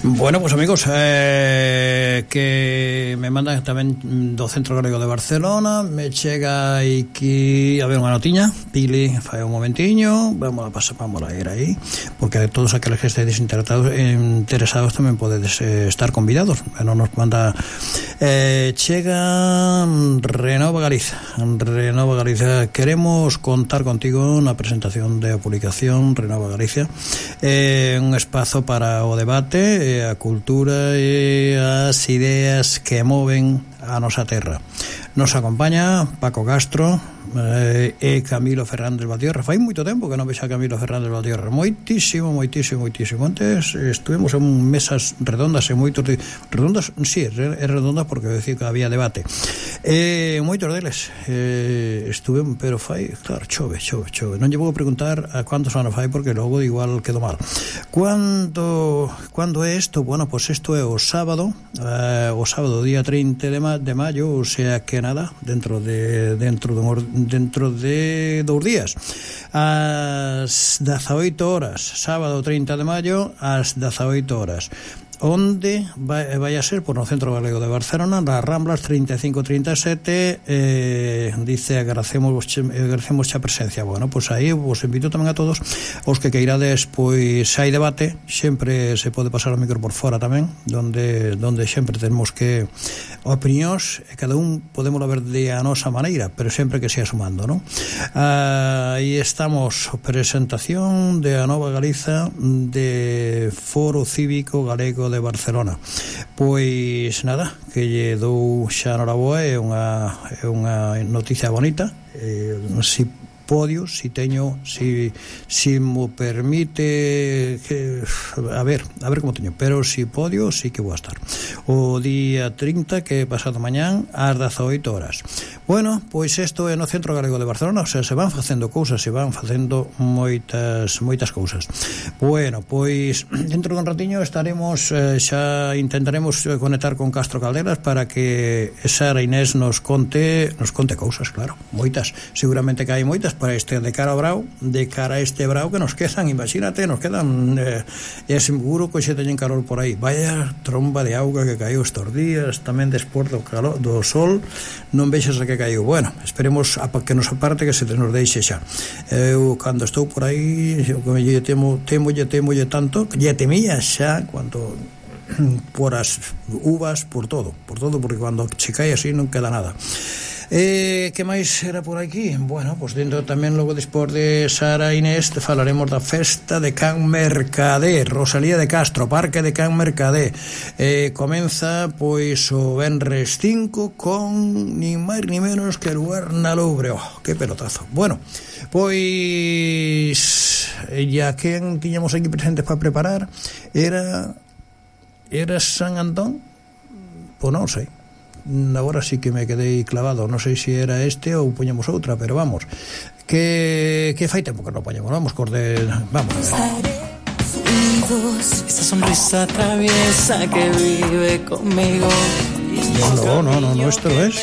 Bueno, pues amigos, que me mandan tamén do Centro Galego de Barcelona. Me chega aquí a ver unha notiña. Pili, fai un momentiño, vamos a ir aí, porque todos aqueles que estéis interesados tamén podedes estar convidados. Non nos manda chega Renova Galiza, queremos contar contigo na presentación de publicación Renova Galicia, un espazo para o debate, a cultura e as ideas que moven a nosa terra. Nos acompaña Paco Castro e Camilo Fernández Valtierra. Fai moito tempo que non vexo a Camilo Fernández Valtierra, moitísimo. Antes estuvemos en mesas redondas e moitos redondas, sí, é redondas porque decía que había debate, moitos deles estuve, pero fai, claro, chove. Non lle vou preguntar a cuántos anos fai porque logo igual quedo mal. Cando é isto? Bueno, pues isto é o sábado día 30 de maio, o sea que nada, dentro de 2 días, ás 18 horas, sábado 30 de maio ás 18 horas. Onde vai a ser? Por no Centro Galego de Barcelona, nas Ramblas 35-37. Dice, agradecemos a presencia. Bueno, pues aí vos invito tamén a todos os que queirades, pois hai debate, sempre se pode pasar o micro por fora tamén, donde sempre temos que opinións, e cada un podemos ver de a nosa maneira, pero sempre que sea sumando, non? Aí estamos, presentación de a Nova Galiza de Foro Cívico Galego de Barcelona. Pois nada, que lle dou xa noraboa, é unha noticia bonita. Si podio, si teño, si mo permite, que, a ver como teño, pero si podio, sí que vou a estar o día 30, que é pasado mañán ás 18 horas. Bueno, pois isto é no Centro Galego de Barcelona, o sea, se van facendo cousas, se van facendo moitas cousas. Bueno, pois dentro dun ratiño estaremos, xa intentaremos conectar con Castro Calderas para que Sara Inés nos conte cousas, claro, moitas, seguramente que hai moitas para este de cara a este brao que nos quedan, imagínate, nos quedan, é seguro que xe teñen calor por aí. Vaya tromba de auga que caiu estes días, tamén despois do calor do sol, non vexas a que caiu. Bueno, esperemos a que nos aparte, que se nos deixe xa. Eu cando estou por aí, lle temolle tanto, lle temía xa cando por as uvas, por todo, porque cando che cae así non queda nada. Que máis era por aquí? Bueno, pues dentro tamén logo despois de Sara Inés falaremos da festa de Can Mercader, Rosalía de Castro, Parque de Can Mercader. Comeza pois o venres 5 con ni máis ni menos que lugar na Louvre. Que pelotazo. Bueno, pois ya quen tiñamos aquí presentes para preparar era San Antón? Pois non sei. Agora sí que me quedei clavado, non sei se era este ou poñemos outra, pero vamos, que fai tempo que non poñemos, vamos a ver. Esa sonrisa traviesa que vive conmigo. No, esto no es.